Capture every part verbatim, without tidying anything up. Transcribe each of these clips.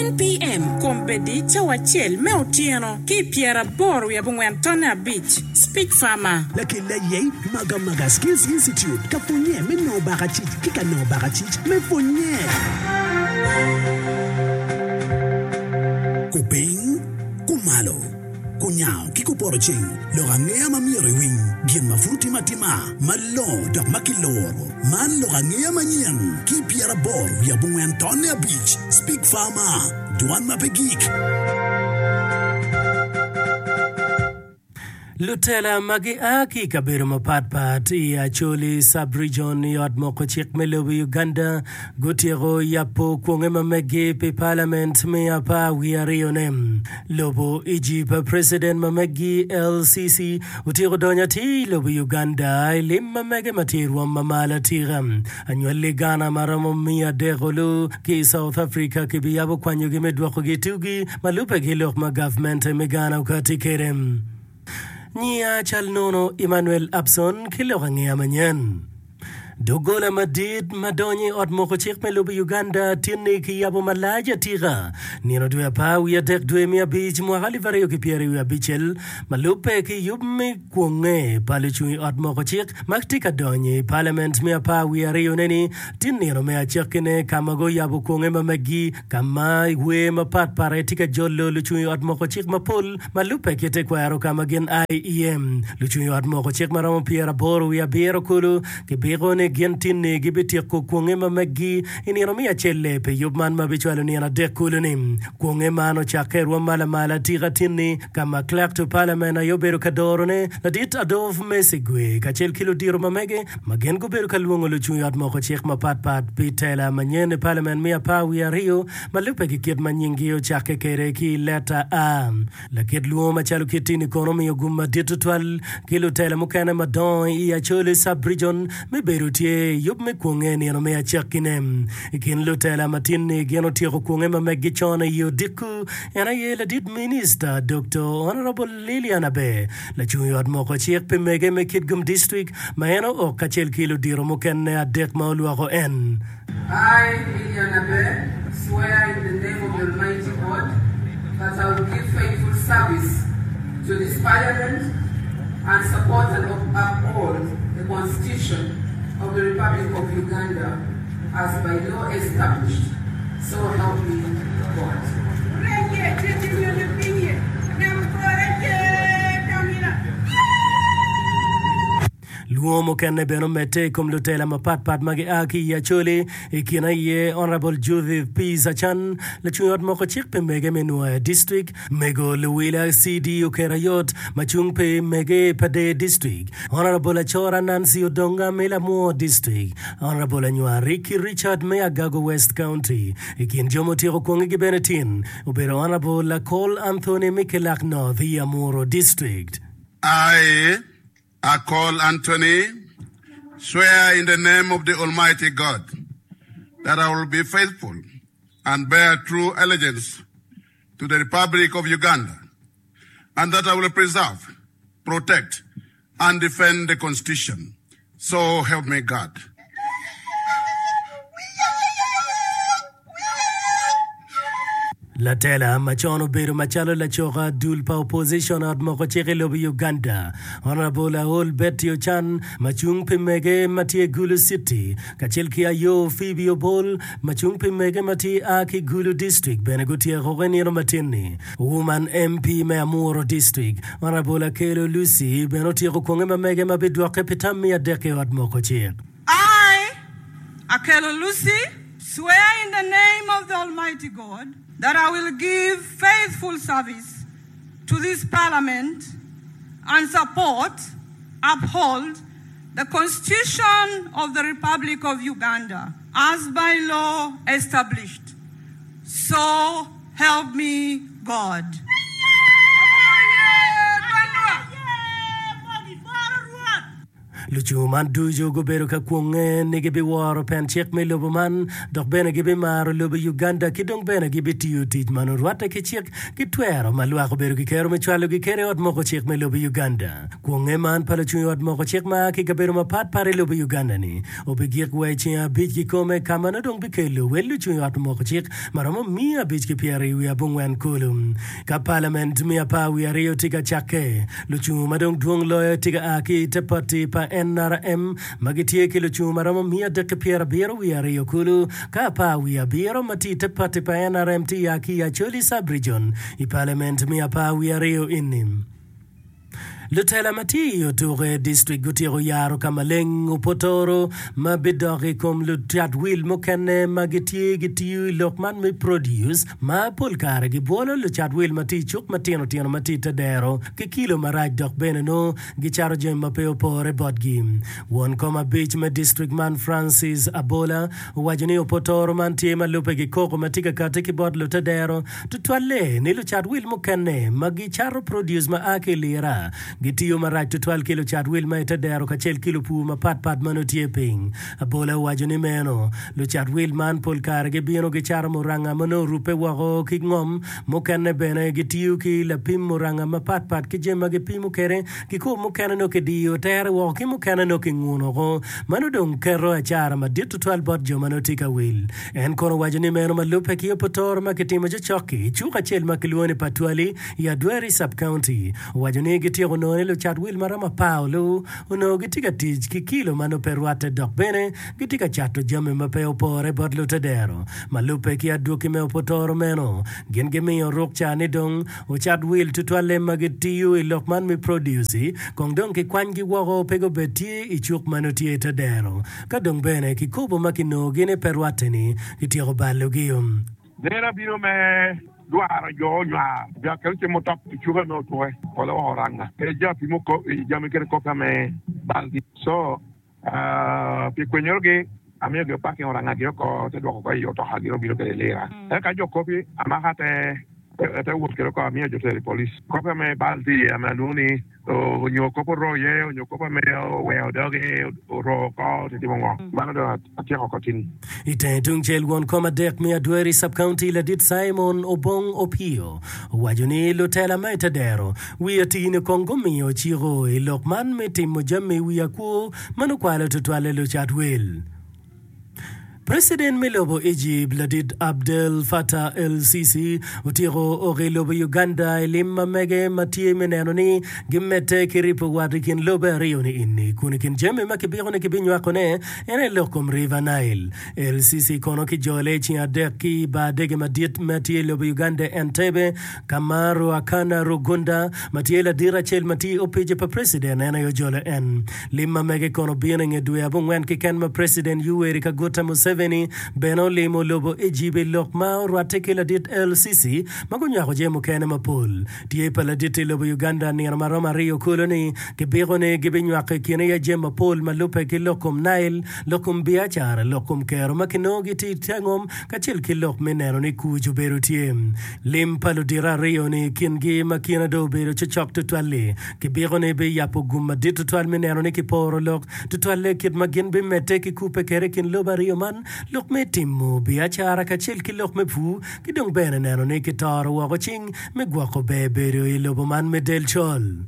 ten P M kombeddi cawa acel me otyeno ki pyeraboro wiye abongwen tonne abic Speak Farmer. Lakel aye Magamaga Skills Institute ka pwonye me nongo bakacic ki ka nongo bakacic me pwonye. Kupiny, kumalo, kunyango ki kupoto ceng, lok angeya ma myero iwiny, gin ma pud otime atima, malongo dok ma kiloro. Man lok angeya manyen ki pyeraboro wiye abongwen tonne abic Speak Farmer, dwan ma pe gik. Lutela ma gia ki i kabedo mapatpat i Acholi Sub-Region i ot moko cik me lobo Uganda gutyeko yabo kwonge ma meggi pi Parliament me apar wiye aryone. Lobo Egypt President ma meggi El-Sisi otyeko donyo atir i lobo Uganda i lim ma mege ma tye i rwom ma malo atika. Anywalli Ghana ma romo miya adek olu ki i South Africa kibiyabo kwanyogi me dwokogi tugi ma lubbe ki lok ma gavmente me Ghana okati kwede. Nyiya cal nono Emmanuel Abson ki lok angeya manyen. Doggola madit ma donyo i ot moko cik me lobo Uganda tinni kiyabo malac atika nino dwe apar wiye adek dwe me abic mwaka alip aryo ki pyeri wiye abicel ma lubbe ki yub me kwonge pa lucung i ot moko cik ma tye ka donyo i palament me apar wiye aryo neni tin nino me acakkine ka ma guyabo kwonge ma megi ka ma wer mapat pat aye tye ka jolo lucung i ot moko cik mapol ma lubbe ki tekwaro ka ma gin a iye. Lucung i ot moko cik ma romo pyeraboro wiye abiro kulu kibiko ni gin tinni gibityeko kwonge ma meggi i nino me acel-le pi yub man ma bicwalo nino adek kulu-ni. Kwonge man ocakke i rwom ma lamal atika tinni ka ma Clerk to Parliament aye obedo ka dorone, Ladit Adolf Mesigwe kacel ki ludito ma mege ma gin gubedo ka lwongo lucung i ot moko cik mapat pat pi tela manyen i Parliament me apar wiye aryo ma lubbe ki kit ma nyinggi ocakke kwede ki i leta A. Lakit lwongo macalo kit-ti-ni kono omiyo gum madit tutwal ki lutela mukene madongo i Acholi Sub-Region me bedo tye i yub me kwonge nino me acakkine. I kin lutela ma tin-ni gin otyeko kwonge ma meggi con i odiko en aye ladit Minista Doktor Honourable Lilian Aber, lacung i ot moko cik pi mege me Kitgum District ma en ook kacel ki ludito mukene adek ma olwoko en. I, Lilian Aber, swear in the name of the Almighty God that I will give faithful service to this Parliament and support and uphold the Constitution of the Republic of Uganda as by law established, so help me God. Lwongo mukene bene omedde i kom lutela mapatpat ma gia ki i Acholi, i kine aye Honourable Judith Peace Achan, lacung i ot moko cik pi mege me Nwoya District, Mego Luwila C D Okerayot ma cung pi mege i Pader District, Honourable Acora Nancy Odonga me Lamwo District, Honourable Anywar Ricky Richard me Agago West County. I kin jo mutyeko kwongegi bene tin obedo Honourable Akol Anthony me Kilak North i Amuru District. I, Akol Anthony, swear in the name of the Almighty God that I will be faithful and bear true allegiance to the Republic of Uganda, and that I will preserve, protect, and defend the Constitution. So help me God. Latela macon obedo macalo lacoka dul pa opposition ot moko cik i lobo Uganda, Honourable Aol Betty Ochan ma cung pi mege ma tye Gulu City kacel ki Ayo Phoebe Obol ma cung pi mege ma tye a ki Gulu District bene gutyeko i nino matin-ni. Woman M P me Amuru District, Honourable Akello Lucy bene otyeko kwonge ma mege ma bidwokke pi tam miya adek i ot moko cik. I, Akello Lucy, swear in the name of the Almighty God that I will give faithful service to this Parliament and support, uphold the Constitution of the Republic of Uganda as by law established. So help me God. Lucungu man ducu gubedo ka kwonge ni gibiworo pen cik me lobo man dok bene gibimaro lobo Uganda ki dong bene gibitiyo tic ma nongo rwatte ki cik ki twero ma lwak obedo ki kero me cwalogi kede i ot moko cik me lobo Uganda. Kwonge man pa lucung i ot moko cik ma a ki i kabedo mapat pat i lobo Uganda-ni obigik wa i ceng abic kikome ka ma nongo dong bikelo wel lucung i ot moko cik ma romo miya abic ki pyeraryo wiye abongwen kulu. Ka palament me apar wiye aryo tye ka cakke, lucungu ma dong dwong loyo tye ka a ki i te pati pa N R M ma gitye ki lucungu ma romo miya adek ki pyerabiro wiye aryo kulu, ka apar wiye abiro ma tye i te pati pa N R M tye ya ki i Acholi Sub-Region i palament me apar wiye aryo eni. Lutela ma tye i Otuke District gutyeko yaro ka maleng opotoro ma bidok i kom lucat wil mukene ma gitye gitiyo i lok man me produce ma pol kare gibwolo lucat wil ma tye i cuk matino tino ma tye i te dero ki kilo marac dok bene nongo gicato jami ma pe opore botgi. Won kom abic me district man Francis Abola owaco ni opotoro man tye ma lubbe ki koko ma tye ka kati ki bot lute dero tutwalle ni lucat wil mukene ma gicato produce ma a ki i Lira gitiyo marac tutwal ki lucat wil ma i te dero kacel ki lupur mapatpat ma nongo tye piny. Abola owaco ni meno lucat wil man pol kare gibino gicato muranga ma nongo orubbe woko ki ngom, mukene bene gitiyo ki lapim muranga mapatpat ki jami ma gipimo kwede ki kwo mukene nongo kidiyo tere woko ki mukene nongo kinguno woko. Mano dong keto acara madit tutwal bot jo ma nongo tye ka wil. En kono owaco ni meno ma lubbe ki opotoro ma kitimo cokcok-ki i cuk acel ma kilwongo ni Patwali i Adweri Sub-County. Owaco ni gityeko nongo ni lucat wil ma romo apar olu onongo gitye ka tic ki kilo ma nongo pe rwatte dok bene gitye ka cato jami ma pe opore bot lutedero. Ma lubbe ki adwogi me opotoro meno, gin gimiyo rukca ni dong ocat wil tutwalle ma gitiyo i lok man me produce kong dong kikwanygi woko pe gubed tye i cuk ma nongo tye i te dero. Ka dong bene kikobo ma kinongogi ni pe rwatte-ni kityeko balogi. Nen abino me dwaro jo onywar jo akelo cem mutop i cuke me otuke pole woko oranga kede jo apimo jami kede kopi me balgi so pi kwenyorogi amiyo gi opaking oranga gi oko te dwoko ko i otoka gin obino kede lira eka jo kopi amaka te te wot kede oko amiyo jo tero i police kopi me bal tye iye ame alwongo ni onyo kop oro iye onyo kop ame oweo doge oro oko titimo ngo mano dong atyeko oko tin. I tenge tungcel, won kom adek me Adweri Sub-County Ladit Simon Obong Opio owaco ni lutela ma i te dero wi atini kong gumiyo ciko i lok man me timo jami i wi akwo ma nongo kwalo tutwalle lucat wil. Preciden me lobo Egypt Ladit Abdel Fattah El-Sisi otyeko ok i lobo Uganda i lim ma mege ma tye me neno ni gimedde ki ripo wat i kin lobe aryo ni eni kun i kin jami ma kibiko ni kibinywakone en aye lok kom River Nile. El-Sisi kono kijole i ceng adek ki i bar dege madit ma tye i lobo Uganda Entebbe ka ma Ruhakana Rugunda ma tye ladit acel ma tye i opici pa preciden en aye ojolo en. Lim ma mege kono obino i nge dwe abongwen keken ma Preciden Yoweri Kaguta Museveni bene olimo lobo Egypt i lok ma orwatte ki ladit El Sisi ma gunywako jami mukene mapol. Tye pa ladit i lobo Uganda nino ma romo aryo kulu ni kibiko ni gibinywako i kine iye jami mapol ma lubbe ki lok kom Nile, lok kom biacara, lok kom kero ma kinongo gitye i te ngom kacel ki lok me neno ni kuc obedo tye. Lim pa ludito aryo-ni i kingi ma kine dong obedo cocok tutwal-li, kibiko ni biyabo gum madit tutwal me neno ni kiporo lok, tutwalle kit ma gin bimedde ki kubbe kwede i kin lobe aryo man, lok me timo biacara kacel ki lok me pur, ki dong bene neno ni kitoro woko cing me gwoko ber bedo i lobo man me del col.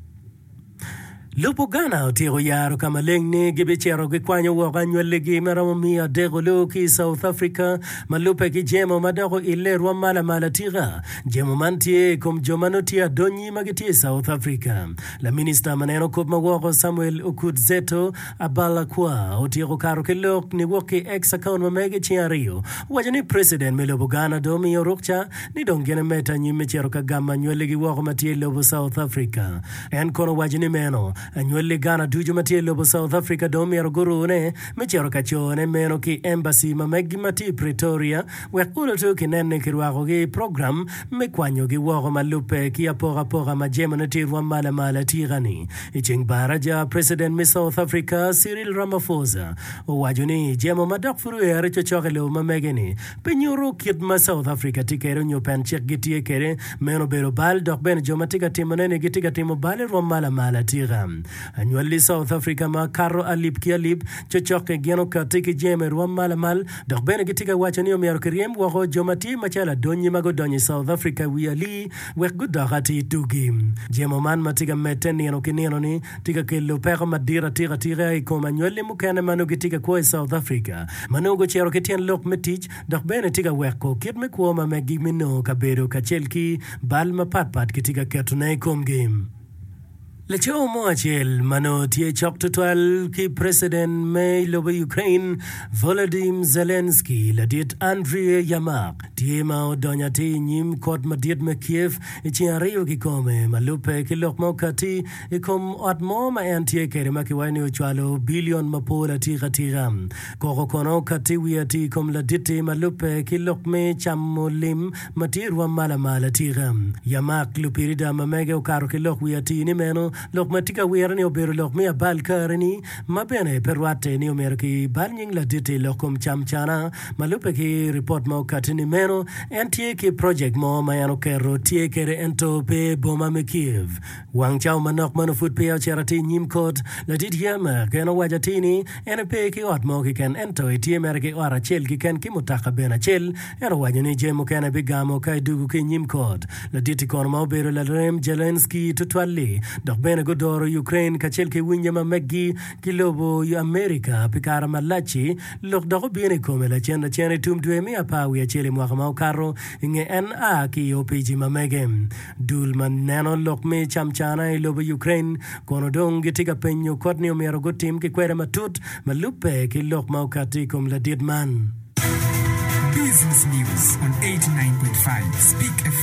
Lobo Ghana otyeko yaro ka maleng ni gibicito gikwanyo woko anywalligi ma romo miya adek olu ki i South Africa ma lubbe ki jemo ma dok oille rwom ma lamal atika. Jemo man tye i kom jo ma nongo tye adonyi ma gitye i South Africa. Laminista ma neno kop ma woko Samuel Okudzeto Ablakwa otyeko kato ki lok niwok ki X account ma mege ceng aryo owaco ni President me lobo Ghana dong omiyo rukca ni dong gin emedde anyim me cito ka gamo anywalligi woko ma tye i lobo South Africa. En kono owaco ni meno, anywalli Ghana ducu ma tye i lobo South Africa dong myero gurune me cito ka cone meno ki embassy ma meggi ma tye i Pretoria wek oloto kinen ni kirwakogi i program me kwanyogi woko ma lubbe ki apokapoka ma jemone tye i rwom ma lamal atika-ni. I ceng baraja, President me South Africa, Cyril Ramaphosa owaco ni jemo ma dok pud oere cocok i lobo ma mege-ni pe nyuto kit ma South Africa tye kwede onyo pen cik gitye kwede. Meno obedo bal dok bene jo ma tye ka timone-ni gitye ka timo bal i rwom ma lamal atika. Anywalli South Africa ma kato alip ki alip cocokke gin okatti ki jemo i rwom ma lamal dok bene gitye ka waco ni omyero kiryem woko jo ma tye macalo adonyi ma gudonyo i South Africa wi alii wek gudok atir tugi. Jemo man ma tye ka medde nino ki nino-ni tye ka kelo peko madit atika atika i kom anywalli mukene ma nongo gitye ka kwo i South Africa ma nongo gucito ki tyen lok me tic dok bene tye ka weko kit me kwo ma meggi me nongo kabedo kacel ki bal mapatpat kitye ka ketone i komgi. Laco mo acel ma nongo tye cok tutwal ki preciden me lobo Ukraine, Volodymyr Zelensky, ladit Andriy Yermak, tye ma odonyo atir i nyim kot madit me Kiev i ceng aryo kikome ma lubbe ki lok ma okatti i kom ot mo ma en tye kwede ma kiwaco ni ocwalo bilion mapol atika tika. Koko kono okatti wiye atir i kom ladit-ti ma lubbe ki lok me camo lim ma tye i rwom ma lamal atika. Yamak lupirida ma mege okato ki lok wiye atir ni meno lok ma tye ka wire-ni obedo lok me abal kareni ma bene pe rwatte ni omyero ki bal nying ladit-ti i lok kom cam cana. Ma lubbe ki ripot ma okatti ni meno en tye ki projek mo ma en oketo tye kwede ento pe i boma me Kiev. Wang cawa manok ma nongo pud peya ocito atir i nyim kot, ladit Yermak en owaco atir ni en epe ki ot mo keken ento etye mere ki ot acel keken ki mutoka bene acel. En owaco ni jami mukene bigamo ka edwogo ki i nyim kot. Ladit-ti kono ma obedo larem Zelensky tutwal-li dok bene gudoro Ukraine kacel ki winye ma meggi ki lobo Amerika pi kare malac-ci, lok dok obino i kome lacen lacen i tum dwe me apar wiye acel i mwaka ma okato i nge en a ki i opici ma mege. Dul ma neno lok me camcana i lobo Ukraine kono dong gitye ka penyo kot ni omyero gutim ki kwede matut ma lubbe ki lok ma okatti i kom ladit man. Business News on eighty nine point five Speak F M.